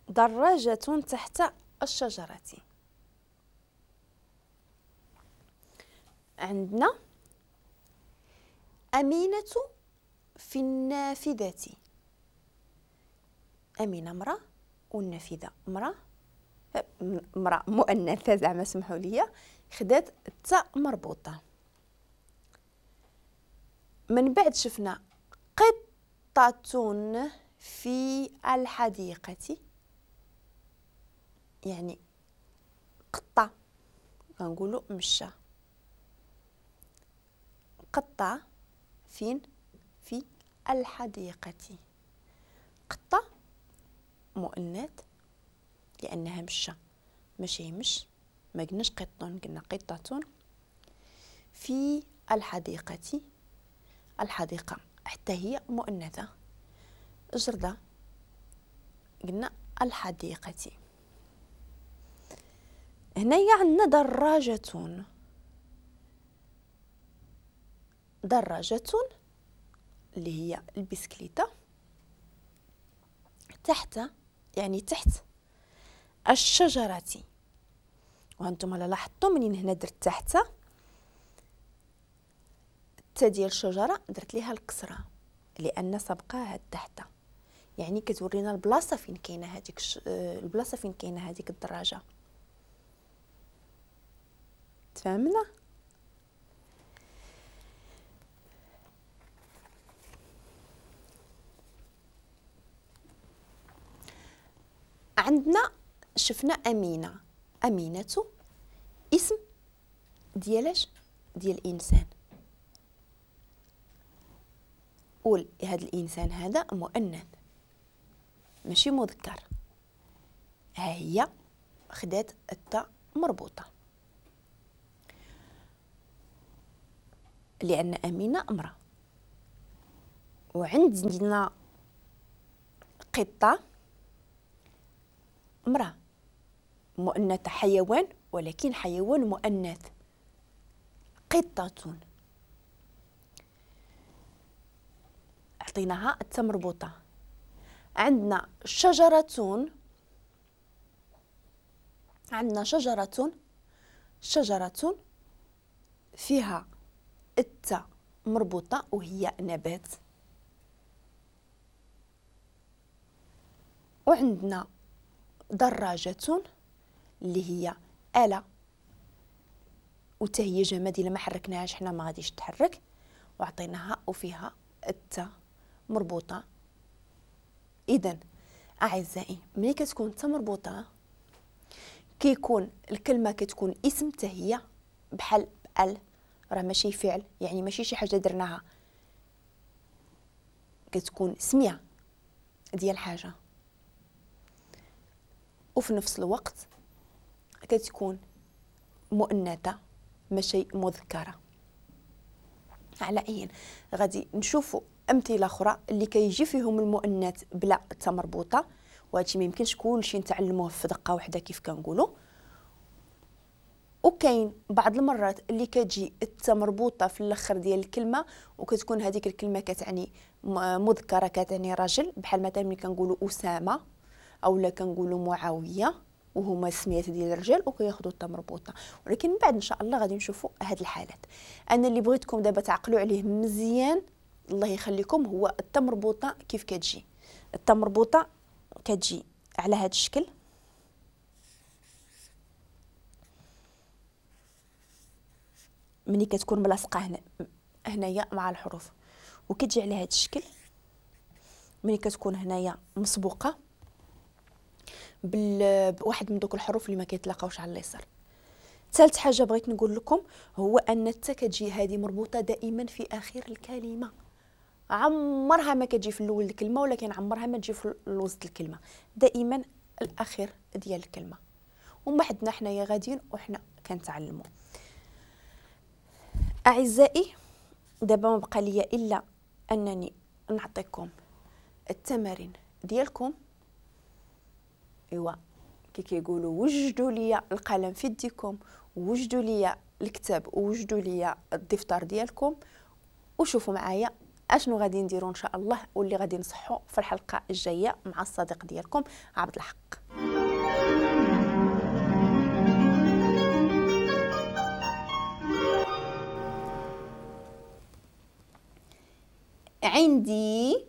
دراجة تحت الشجرة. عندنا أمينة في النافذة. أمينة امرأة والنافذة امرأة، امرأة مؤنثة زعما سمحوا لي، خدات التاء مربوطة. من بعد شفنا قطة في الحديقة، يعني قطة كنقولوا مشى، قطة فين؟ في الحديقة. قطة مؤنث لأنها مشى، ماشي مش، ما قلناش قط، قلنا قطة. في الحديقة، الحديقة حتى هي مؤنثة، جردة قلنا الحديقة. هنايا عندنا دراجة، دراجة اللي هي البسكليتة، تحت يعني تحت الشجرة. وانتم لاحظتوا منين هنا درت تحت التا ديال الشجرة درت ليها الكسرة لأن سبقاها تحت، يعني كتورينا البلاصة فين كاينة هذيك البلاصة فين كاينة هذيك الدراجة. تفهمنا؟ عندنا شفنا أمينة، أمينة اسم ديالاش؟ ديال الإنسان، قول هذا الإنسان هذا مؤنث ماشي مذكر، ها هي خدات التاء مربوطة لأن أمينة امرأة. وعندنا قطة امرأة مؤنثة، حيوان ولكن حيوان مؤنث، قطة عطيناها التاء مربوطة. عندنا شجرة، عندنا شجرة، شجرة فيها التاء مربوطة وهي نبات. وعندنا دراجة اللي هي آلة وتا هي جماد، إلا ما حركناهاش حنا ما غاديش تحرك، وعطيناها وفيها التاء مربوطة. إذا أعزائي ملي كتكون التاء مربوطة كيكون الكلمة كتكون اسم تا هي بحال ال، راه ماشي فعل، يعني ماشي شي حاجة درناها، كتكون سمية ديال حاجة، وفي نفس الوقت كتكون مؤنثة ماشي مذكرة. على أي غادي نشوفوا أمثلة أخرى اللي كيجي فيهم المؤنث بلا تا مربوطة، وهادشي ما يمكنش كلشي نتعلموه في دقة واحدة كيف كنقولوا. وكاين بعض المرات اللي كتجي التا مربوطة في الاخر ديال الكلمة وكتكون هذيك الكلمة كتعني مذكرة، كتعني رجل، بحال مثلا ملي كنقولوا أسامة أو لا كنقولوا معاوية، وهما السميات ديال الرجال وكياخذوا التا مربوطة. ولكن من بعد ان شاء الله غادي نشوفوا هاد الحالات. انا اللي بغيتكم دابا تعقلوا عليه مزيان الله يخليكم هو التا مربوطة كيف كتجي. التا مربوطة كتجي على هاد الشكل، ملي كتكون ملاصقه هنا هنايا مع الحروف، وكتجي على هاد الشكل ملي كتكون هنايا مسبوقة بواحد من دوك الحروف اللي ما كيتلاقاوش على اليسار. ثالث حاجة بغيت نقول لكم هو ان التا كتجي هذه مربوطة دائما في اخر الكلمة، عمرها ما كتجي في الاول الكلمة، ولكن عمرها ما تجي في الوسط الكلمة، دائما الاخير ديال الكلمة. وما حدنا حنايا غاديين وحنا كنتعلموا. اعزائي دابا ما بقى ليا الا انني نعطيكم التمارين ديالكم. ايوا كي كيقولوا وجدوا لي القلم في يديكم، وجدوا لي الكتاب، وجدوا لي الدفتر ديالكم، وشوفوا معايا اشنو غادي نديرو ان شاء الله واللي غادي نصحو في الحلقة الجاية مع الصديق ديالكم عبد الحق. عندي